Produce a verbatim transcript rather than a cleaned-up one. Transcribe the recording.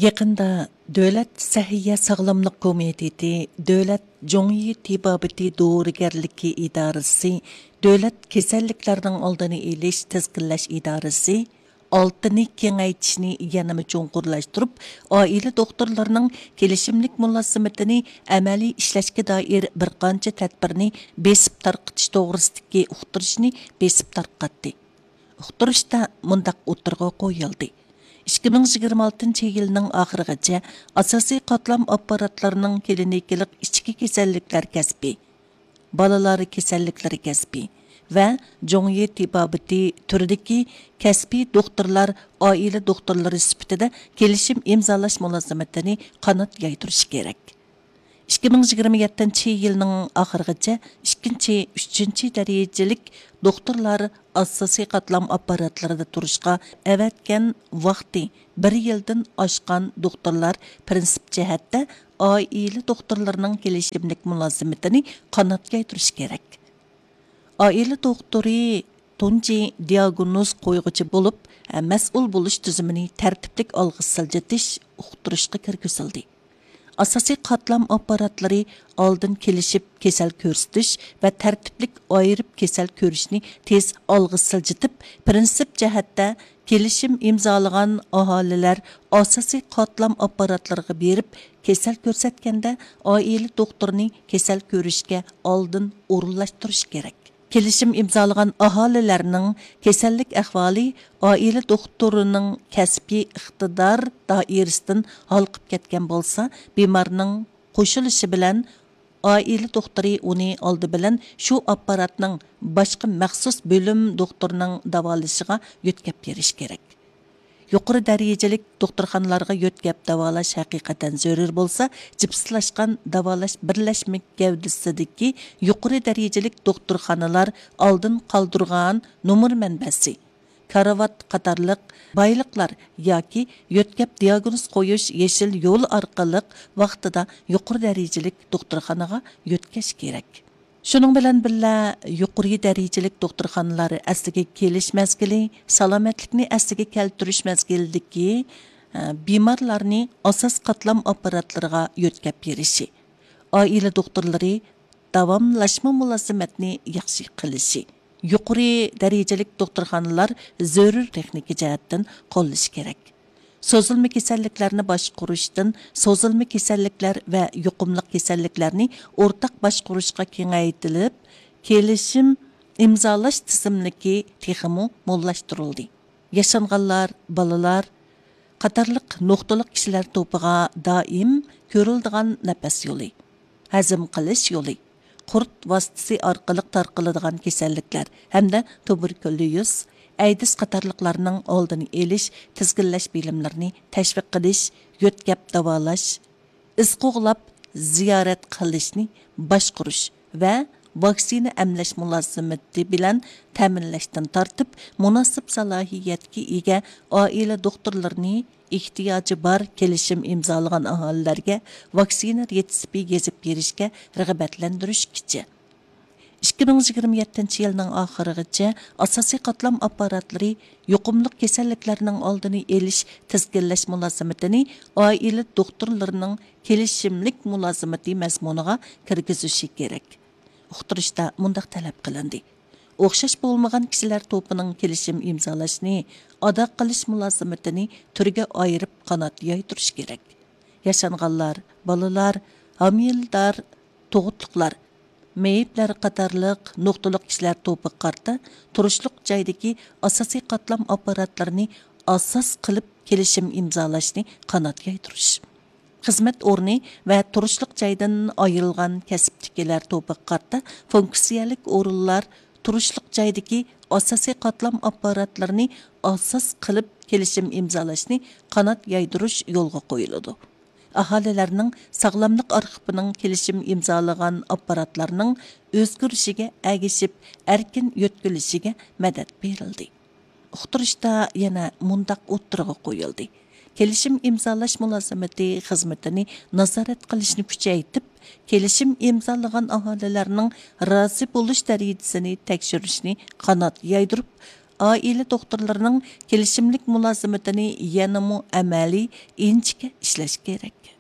يېقىندا دۆلەت سەھىيە ساغلاملىق كومىتېتى، دۆلەت جۇڭيى تېبابىتى دورىگەرلىكى ئىدارىسى، دۆلەت كېسەللىكلەرنىڭ ئالدىنى ئېلىش، تىزگىنلەش ئىدارىسى ئالتىنى كېڭەيتىشنى يەنىمۇ چوڭقۇرلاشتۇرۇپ، ئائىلە دوختۇرلىرىنىڭ كېلىشىملىك مۇلازىمىتىنى ئەمەلىي ئىشلەشكە دائىر بىر قانچە تەدبىرنى بېسىپ تارقىتىش توغرىسىدىكى ئۇقتۇرۇشنى بېسىپ تارقاتتى. ئۇقتۇرۇشتا مۇنداق ئوتتۇرىغا قويۇلدى: ئىككى مىڭ يىگىرمە ئالتىنچى يىلنىڭ ئاخىرىغىچە ئاساسىي قاتلام ئاپپاراتلىرىنىڭ كلىنىكىلىق ئىچكى كېسەللىكلەر كەسپى، بالىلار كېسەللىكلىرى كەسپى ۋە جۇڭيى تېبابىتى تۈرىدىكى كەسپىي دوختۇرلار ئائىلە دوختۇرلىرى سۈپىتىدە كېلىشىم ئىمزالاش مۇلازىمىتىنى قانات يايدۇرۇشى كېرەك. ئىككى مىڭ يىگىرمە يەتتىنچى يىلنىڭ ئاخىرىغىچە ئىككىنچى، ئۈچىنچى دەرىجىلىك دوختۇرلار ئاساسىي قاتلام ئاپپاراتلىرىدا تۇرۇشقا ئەۋەتكەن ۋاقتى بىر يىلدىن ئاشقان دوختۇرلار پىرىنسىپ جەھەتتە ئائىلە دوختۇرلىرىنىڭ كېلىشىملىك مۇلازىمىتىنى قانات يايدۇرۇشى كېرەك. ئائىلە دوختۇرى تۇنجى دىياگنوز قويغۇچى بولۇپ، مەسئۇل بولۇش تۈزۈمىنى تەرتىپلىك ئالغا سىلجىتىش ئۇقتۇرۇشقا كىرگۈزۈلدى. ئاساسىي قاتلام ئاپپاراتلىرى ئالدىن كېلىشىپ كېسەل كۆرسىتىش ۋە تەرتىپلىك ئايرىپ كېسەل كۆرۈشنى تېز ئالغا سىلجىتىپ، پىرىنسىپ جەھەتتە كېلىشىم ئىمزالىغان ئاھالىلەر ئاساسىي قاتلام ئاپپاراتلىرىغا بېرىپ كېسەل كۆرسەتكەندە، ئائىلە دوختۇرىنى كېسەل كۆرۈشكە ئالدىن ئورۇنلاشتۇرۇش كېرەك. كېلىشىم ئىمزالىغان ئاھالىلەرنىڭ كېسەللىك ئەھۋالى ئائىلە دوختۇرىنىڭ كەسپىي ئىقتىدار دائىرىسىدىن ھالقىپ كەتكەن بولسا، بىمارنىڭ قوشۇلۇشى بىلەن ئائىلە دوختۇرى ئۇنى ئالدى بىلەن شۇ ئاپپاراتنىڭ باشقا مەخسۇس بۆلۈم دوختۇرىنىڭ داۋالىشىغا يۆتكەپ بېرىشى كېرەك. يۇقىرى دەرىجىلىك دوختۇرخانىلارغا يۆتكەپ داۋالاش ھەقىقەتەن زۆرۈر بولسا، جىپسلاشقان داۋالاش بىرلەشمە گەۋدىسىدىكى يۇقىرى دەرىجىلىك دوختۇرخانىلار ئالدىن قالدۇرغان نومۇر مەنبەسى، كارىۋات قاتارلىق بايلىقلار ياكى يۆتكەپ دىياگنوز قويۇش يېشىل يولى ئارقىلىق ۋاقتىدا يۇقىرى دەرىجىلىك دوختۇرخانىغا يۆتكەش كېرەك. شۇنىڭ بىلەن بىللە، يۇقىرى دەرىجىلىك دوختۇرخانىلار ئەسلىگە كېلىش مەزگىلى، سالامەتلىكنى ئەسلىگە كەلتۈرۈش مەزگىلىدىكى، ئە، بىمارلارنى ئاساس قاتلام ئاپپاراتلىرىغا يۆتكەپ بېرىشى، ئائىلە دوختۇرلىرى داۋاملاشما مۇلازىمەتنى ياخشى قىلىشى، يۇقىرى دەرىجىلىك دوختۇرخانىلار زۆرۈر تېخنىكا جەھەتتىن قوللىشى كېرەك. سوزۇلما كېسەللىكلەرنى باشقۇرۇشتىن سوزۇلما كېسەللىكلەر ۋە يۇقۇملۇق كېسەللىكلەرنى ئورتاق باشقۇرۇشقا كېڭەيتىلىپ، كېلىشىم ئىمزالاش تىزىملىكى تېخىمۇ موللاشتۇرۇلدى. ياشانغانلار، بالىلار قاتارلىق نۇقتىلىق كىشىلەر توپىغا دائىم كۆرۈلىدىغان نەپەس يولى، ھەزىم قىلىش يولى، قۇرت ۋاسىتىسى ئارقىلىق تارقىلىدىغان كېسەللىكلەر ھەمدە تۇبېركۇليوز، ئەيدىز قاتارلىقلارنىڭ ئالدىنى ئېلىش، تىزگىنلەش بىلىملىرىنى تەشۋىق قىلىش، يۆتكەپ داۋالاش، ئىز قوغلاپ زىيارەت قىلىشنى باشقۇرۇش ۋە ۋاكسىنا ئەملەش مۇلازىمىتى بىلەن تەمىنلەشتىن تارتىپ، مۇناسىپ سالاھىيەتكە ئىگە ئائىلە دوختۇرلىرىنى ئېھتىياجى بار كېلىشىم ئىمزالىغان ئاھالىلەرگە ۋاكسىنا رېتسېپى يېزىپ بېرىشكە رىغبەتلەندۈرۈشكىچە. ئىككى مىڭ يىگىرمە يەتتىنچى يىلنىڭ ئاخىرىغىچە ئاساسىي قاتلام ئاپپاراتلىرى يۇقۇملۇق كېسەللىكلەرنىڭ ئالدىنى ئېلىش، تىزگىنلەش مۇلازىمىتىنى ئائىلە دوختۇرلىرىنىڭ كېلىشىملىك مۇلازىمىتى مەزمۇنىغا كىرگۈزۈشى كېرەك. ئۇقتۇرۇشتا مۇنداق تەلەپ قىلىندى: ئوخشاش بولمىغان كىشىلەر توپىنىڭ كېلىشىم ئىمزالاشنى ئادا قىلىش مۇلازىمىتىنى تۈرگە ئايرىپ قانات يايدۇرۇش كېرەك. ياشانغانلار، بالىلار، ھامىلىدار، تۇغۇتلۇقلار، مېيىپلەر قاتارلىق نۇقتىلىق كىشىلەر توپىغا قارىتا تۇرۇشلۇق جايدىكى ئاساسىي قاتلام ئاپپاراتلىرىنى ئاساس قىلىپ كېلىشىم ئىمزالاشنى قانات يايدۇرۇش. خىزمەت ئورنى ۋە تۇرۇشلۇق جايدىن ئايرىلغان كەسىپتىكىلەر توپىغا قارىتا فۇنكسىيەلىك ئورۇنلار، تۇرۇشلۇق جايدىكى ئاساسىي قاتلام ئاپپاراتلىرىنى ئاساس قىلىپ كېلىشىم ئىمزالاشنى قانات يايدۇرۇش يولغا قويۇلىدۇ. ئاھالىلەرنىڭ ساغلاملىق ئارخىپىنىڭ كېلىشىم ئىمزالىغان ئاپپاراتلارنىڭ ئۆزگىرىشىگە ئەگىشىپ ئەركىن يۆتكىلىشىگە مەدەت بېرىلدى. ئۇقتۇرۇشتا يەنە مۇنداق ئوتتۇرىغا قويۇلدى: كېلىشىم ئىمزالاش مۇلازىمىتى خىزمىتىنى نازارەت قىلىشنى كۈچەيتىپ، كېلىشىم ئىمزالىغان ئاھالىلەرنىڭ رازى بولۇش دەرىجىسىنى تەكشۈرۈشنى قانات يايدۇرۇپ، ئائىلە دوختۇرلىرىنىڭ كېلىشىملىك مۇلازىمىتىنى يەنىمۇ ئەمەلىي، ئىنچىكە ئىشلەش كېرەك.